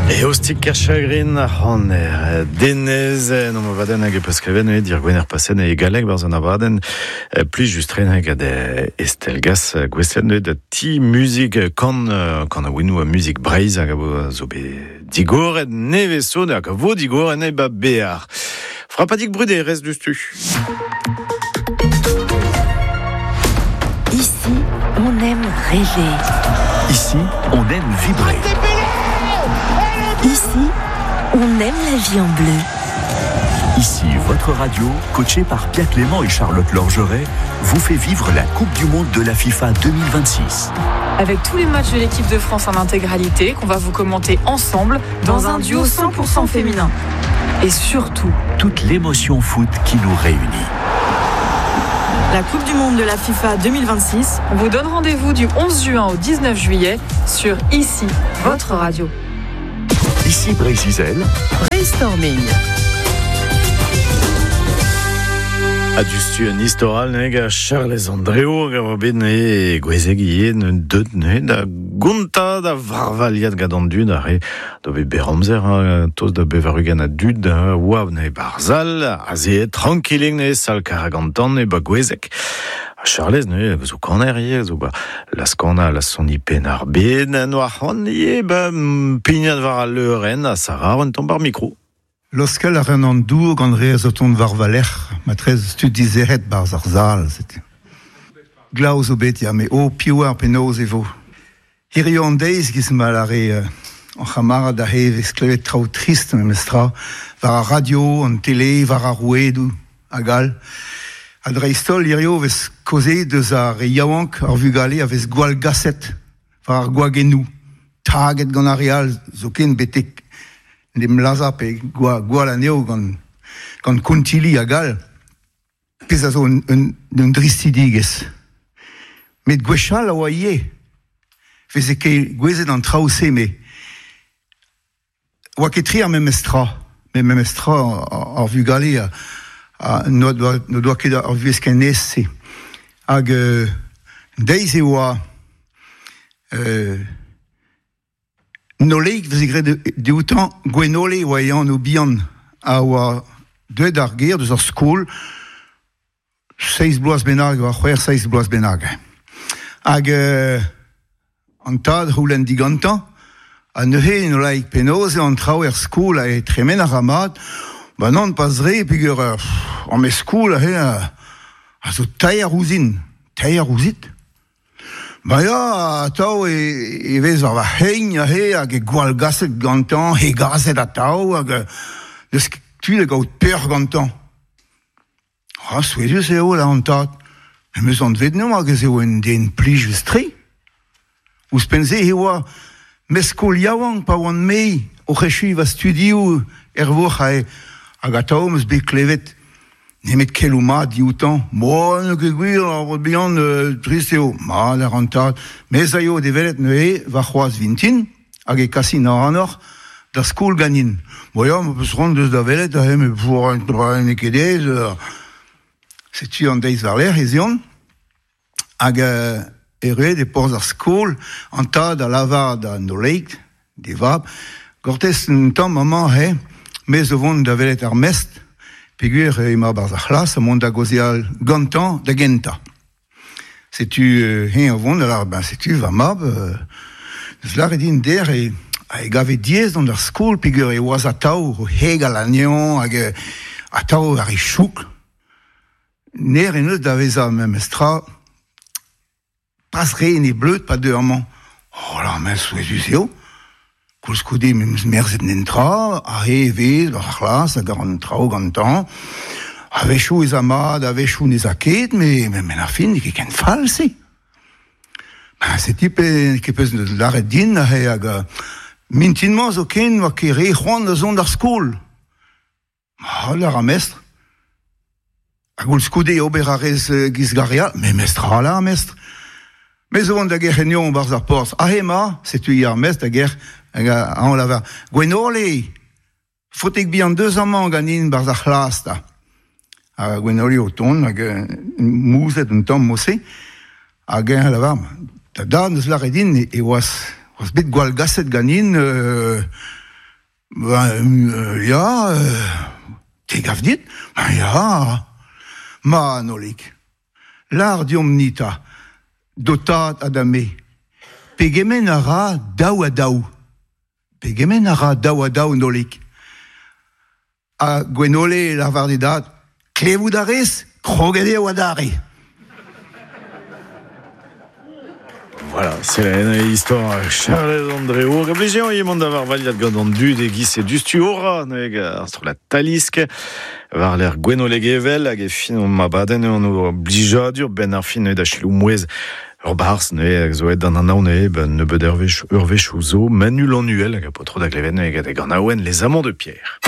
Eostig Kerchagrin ar c'haner Denez en om abadenn hag e peus klevet neuze dir Gwener paset e galleg barzh an abadenn plij just tren hag ad Estelle Gas gouestlet neuze da ti muzik kan kanaouennoù ha muzik Breizh hag a zo bet digoret nevez zo hag a vo digoret e ba Bear. Frapadig bruderezh diouzhtu. Ici, on aime rêver. Ici, on aime vibrer. Ici, on aime la vie en bleu. Ici, votre radio, coachée par Pierre Clément et Charlotte Lorgeret, vous fait vivre la Coupe du Monde de la FIFA 2026. Avec tous les matchs de l'équipe de France en intégralité qu'on va vous commenter ensemble dans, un duo 100% féminin. Et surtout, toute l'émotion foot qui nous réunit. La Coupe du Monde de la FIFA 2026, on vous donne rendez-vous du 11 juin au 19 juillet sur Ici, votre radio. Ici Brésil. Brainstorming. Ha diouzhtu un istor all neuze gant Charlez Andreo hag a oa bet neuze gwezeg ivez neuze deut neuze da gontañ da varvaliat gant an dud ar re da bet berr amzer hein, tost da 80 a dud a oa neuze ba'r sal azeet trankilik neuze sal Karagantan e ba Gwezeg. Ha Charlez neuze zo kaner ivez zo ba laz-kanañ laz-soniñ Penn-ar-Bed noa c'hoant ivez ba pignat war al leurenn ha Sarah un tamm ba'r mikro. Laoskel a ran an dour gant re a zo tont war va lerc'h, matreze tud dizec'het 'barzh ar sal, setu. Glav zo bet, ya, met oh, piv oar penaos e vo. Hiziv an deiz, 'giz ma lâre hor c'hamarad aze, e vez klevet traoù trist memestra, war ar radio, an tele, war ar rouedoù, hag all. Ha dreist-holl, hiziv e vez kaozeet deus ar re yaouank, ar vugale a vez gwallgaset war ar gwagennoù, taget gant ar re all zoken betek en em lazhañ pe gwall anezho gant, gant kontilli hag all, pezh a zo un, un, un dristidigezh. Met gwechall a oa ivez, veze ket gouezet an traoù-se, met oa ket tre ar memes tra. Met memes tra ar vugale a, a n'o doa, n'o doa ket ar vuhez ken aes-se. Hag euh, deiz e oa euh, Noleig 'veze graet dioutañ, Gwenole e oa e anv bihan, a oa deuet d'ar gêr deus ar skol seizh bloaz bennak, war c'hwec'h, seizh bloaz bennak. Hag an tad 'c'houlenn digantañ, ha neuze Nolaig penaos eo an traoù er skol ha e tremen a ra mat? Ba nann, pas re, peogwir an me skol aze a zo taer ouzhin. Taer ouzhit? Ba ya, atav e, e vez war va c'hein aze hag e gwallgaset gantañ, hegaset atav hag n'eus ket tu da gaout peoc'h gantañ. Ah, souezhus eo, la an tad. Em eus anvet anezhañ hag ez eo un den plijus-tre. Ouzhpenn-se e oa meskol yaouank pa oan-me oc'h echuiñ va studioù er vourc'h aze hag atav 'm eus bet klevet Nemet keloù mat dioutañ. Bon, n'eo ket gwir, ar paotr bihan, trist eo. Mat a ran tad. Me 'z aio d'e welet neuze warc'hoazh vintin, hag e kasin ac'hanoc'h d'ar skol ganin. Bon ya, ma peus c'hoant deus da welet aze, met n'eo ket aes. Setu an deiz war-lerc'h ez eont, hag erruet e porzh ar skol, an tad a lavar da Noleig, d'e vab, Gortez un tamm amañ he, me zo vont da welet ar mestr, peogwir emañ 'barzh ar c'hlas ha mont da gaozeal gantañ da gentañ. Setu eñ o vont da lâret, ben setu va mab, deus lâret din dec'h e e gave diaes dont d'ar skol peogwir e oas atav o hegal anezhañ hag atav war e chouk. Nec'h en deus da vezañ memes tra Pas re en e bleud pa deu amañ. Oh la, met souezhus eo. Koulskoude me 'm eus merzet netra, aze e vez war ar c'hlas hag an traoù gantañ. A-wechoù ez a mat, a-wechoù n'ez a ket, met met ar fin n'eo ket ken fall-se. Ben setu pe ket peus lâret din aze hag mintin-mañ zoken 'oa ket re c'hoant da zont d'ar skol. Hala ar mestr. Ha koulskoude ober a rez giz garia, me mestr hala ar mestr. Me zo vont da gerc'hennion barzh ar porzh. Aze ema, setu i ar mestr da gerc'h, hag añ lavar, Gwenole, faotek bihan deus amañ ganin barzh ar c'hlas 'ta. Ha Gwenole o tont hag mouzet un tamm mod-se, hag eñ a lavar, da dad 'neus lâret din e oas, oas bet gwallgaset ganin. Ben, ya, te gav dit? Ben ya. Ma, Nolig, lar diomp nita, dotat ha da me. Pegement a ra daou ha daou. Pegement a ra daou ha daou, Nolig. Ha Gwenole lavar d'e dad, klevout a rez, kroget eo adarre. Voilà, c'est la histoire Charles Andréo. Hag a blije eo mont da varvaliat gant an dud e giz e dustu ora, neuze ar strollad Talisk, war lec'h Gwenole Gevel, hag e fin hon abadenn eo an blijadur ben ar fin neuze da selaou mouezh ur barzh neuze hag zo aet d'an anaon neuze ben nebeut eurvezh eurvezhioù zo, Manu Lannuel hag a paotr da glevet neuze gant e ganaouenn Les Amants de Pierre.